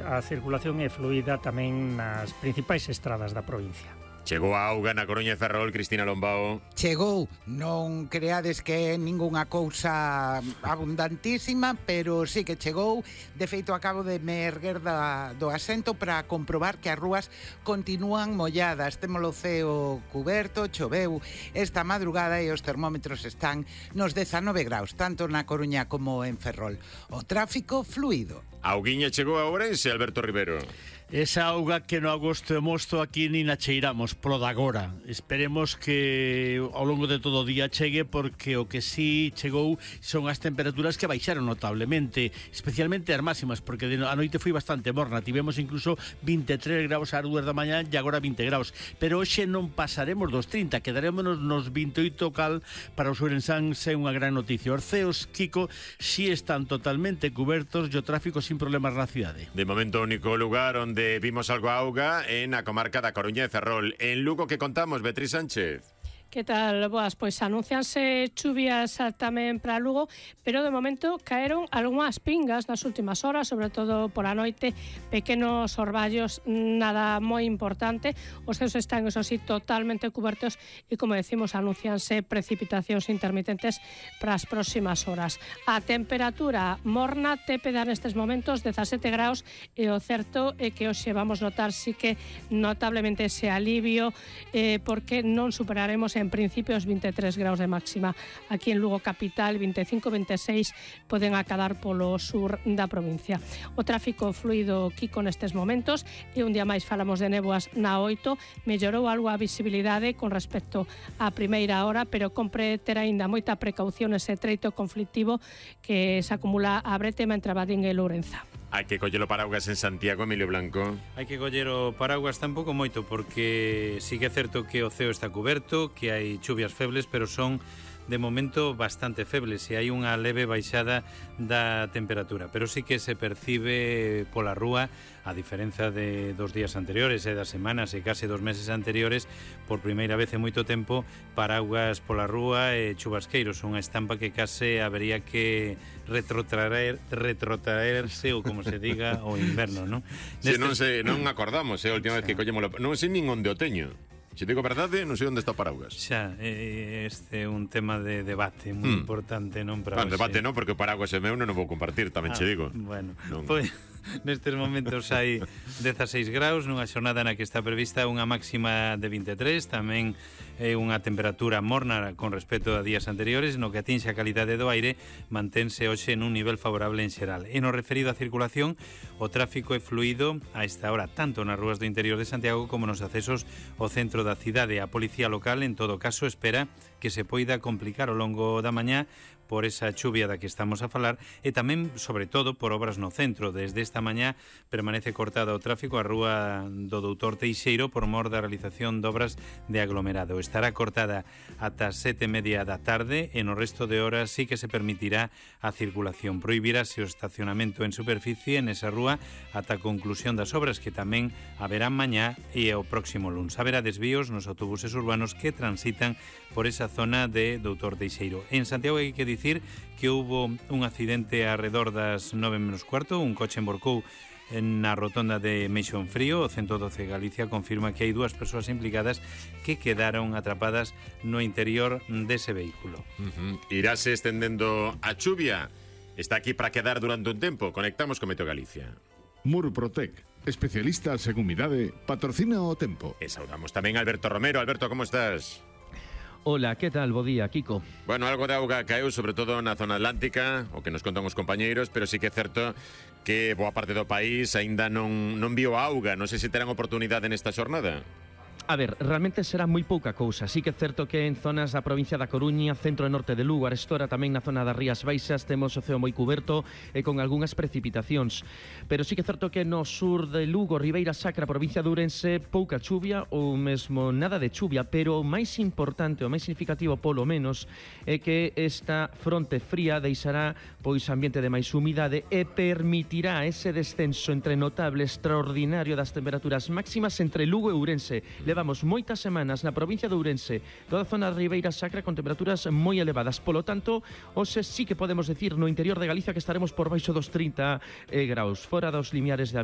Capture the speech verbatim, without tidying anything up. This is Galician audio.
a circulación é fluida tamén nas principais estradas da provincia. Chegou a auga na Coruña e Ferrol, Cristina Lombao. Chegou, non creades que é ningunha cousa abundantísima, pero sí que chegou. De feito, acabo de me erguer da, do asento para comprobar que as rúas continúan molladas. Temos o ceo cuberto, choveu esta madrugada e os termómetros están nos dezanove graus, tanto na Coruña como en Ferrol. O tráfico fluido. A auguiña chegou a Ourense, Alberto Rivero. Esa auga que no agosto e mosto aquí nin a cheiramos, polo de agora. Esperemos que ao longo de todo o día chegue, porque o que sí chegou son as temperaturas que baixaron notablemente, especialmente as máximas, porque a noite foi bastante morna. Tivemos incluso vinte e tres graus ás dúas da mañá e agora vinte graus. Pero hoxe non pasaremos dos trinta, quedarémonos nos vinte e oito cal. Para os ourensáns é unha gran noticia. Os ceos, Kiko, si están totalmente cubertos e o tráfico sin problemas na cidade. De momento, o único lugar onde vimos algo a auga en a comarca da Coruña e Ferrol. En Lugo, que contamos, Beatriz Sánchez? Que tal? Boas, pois anuncianse chuvias tamén para Lugo, pero de momento caeron algunhas pingas nas últimas horas, sobre todo por a noite, pequenos orballos, nada moi importante. Os ceos están, eso sí, totalmente cubertos e, como decimos, anuncianse precipitacións intermitentes para as próximas horas. A temperatura morna tépeda nestes momentos, dezasete graus, e o certo é que hoxe vamos notar sí que notablemente ese alivio, eh, porque non superaremos en principio os vinte e tres graus de máxima. Aquí en Lugo capital, vinte e cinco, vinte e seis poden acadar polo sur da provincia. O tráfico fluido, Kiko, nestes momentos, e un día máis falamos de néboas na oito. Mellorou algo a visibilidade con respecto á primeira hora, pero compre ter aínda moita precaución ese treito conflictivo que se acumula a Bretema entre Abadín e Lourenza. Hai que coller o paraguas en Santiago, Emilio Blanco. Hai que coller o paraguas tampouco moito, porque sí que é certo que o ceo está cuberto, que hai chuvias febles, pero son de momento bastante febles e hai unha leve baixada da temperatura, pero sí que se percibe pola rúa, a diferenza de dos días anteriores e das semanas e case dos meses anteriores, por primeira vez en moito tempo, paraguas pola rúa e chubasqueiros, unha estampa que case habería que retrotraer, retrotraerse, ou como se diga, o inverno, non? Se non se non acordamos, é eh, a última vez que collemos, non sei nin onde o teño. Se digo verdade, non sei onde está o paraguas. Xa, este é un tema de debate moi hmm. importante, non para hoxe. Debate non, porque o paraguas é meu, non o vou compartir, tamén ah, che digo. Bueno, non. Pois nestes momentos hai dezaseis graus, nunha xornada na que está prevista unha máxima de vinte e tres, tamén é unha temperatura morna con respecto a días anteriores, no que atinxe a calidade do aire, mantense hoxe nun nivel favorable en xeral. E no referido á circulación, o tráfico é fluido a esta hora, tanto nas rúas do interior de Santiago como nos accesos ao centro da cidade. A policía local, en todo caso, espera que se poida complicar ao longo da mañá por esa chuvia da que estamos a falar e tamén, sobre todo, por obras no centro. Desde esta mañá permanece cortada o tráfico a rúa do doutor Teixeiro por mor da realización de obras de aglomerado. Estará cortada ata sete e media da tarde e no resto de horas sí que se permitirá a circulación. Prohibirase o estacionamento en superficie en esa rúa ata a conclusión das obras, que tamén haberán mañá e o próximo luns. Haberá desvíos nos autobuses urbanos que transitan por esa zona de doutor Teixeiro. En Santiago hai que dicir que houbo un accidente arredor das nove menos cuarto, un coche emborcou na rotonda de Meixón Frío. O ciento doce Galicia confirma que hai dúas persoas implicadas que quedaron atrapadas no interior dese vehículo. Uh-huh. Irase estendendo a chuvia. Está aquí para quedar durante un tempo. Conectamos con Meteo Galicia. Murprotec, especialistas en humidade, patrocina o tempo. E saudamos tamén a Alberto Romero. Alberto, como estás? Hola, que tal? Bo día, Kiko. Bueno, algo de auga caeu, sobre todo na zona atlántica, o que nos contan os compañeiros, pero sí que é certo que boa parte do país aínda non, non viu auga. Non sei se terán oportunidade nesta xornada. A ver, realmente será moi pouca cousa. Sí que é certo que en zonas da provincia da Coruña, centro e norte de Lugo, Arestora, tamén na zona das Rías Baixas, temos o ceo moi cuberto e con algunhas precipitacións. Pero sí que é certo que no sur de Lugo, Ribeira Sacra, provincia de Ourense, pouca chuvia ou mesmo nada de chuvia, pero o máis importante, o máis significativo polo menos, é que esta fronte fría deixará pois ambiente de máis humidade e permitirá ese descenso entre notable extraordinario das temperaturas máximas entre Lugo e Ourense. Levamos moitas semanas na provincia de Ourense, toda a zona de Ribeira Sacra con temperaturas moi elevadas. Polo tanto, hoxe sí que podemos decir no interior de Galicia que estaremos por baixo dos trinta eh, graus, fora dos limiares de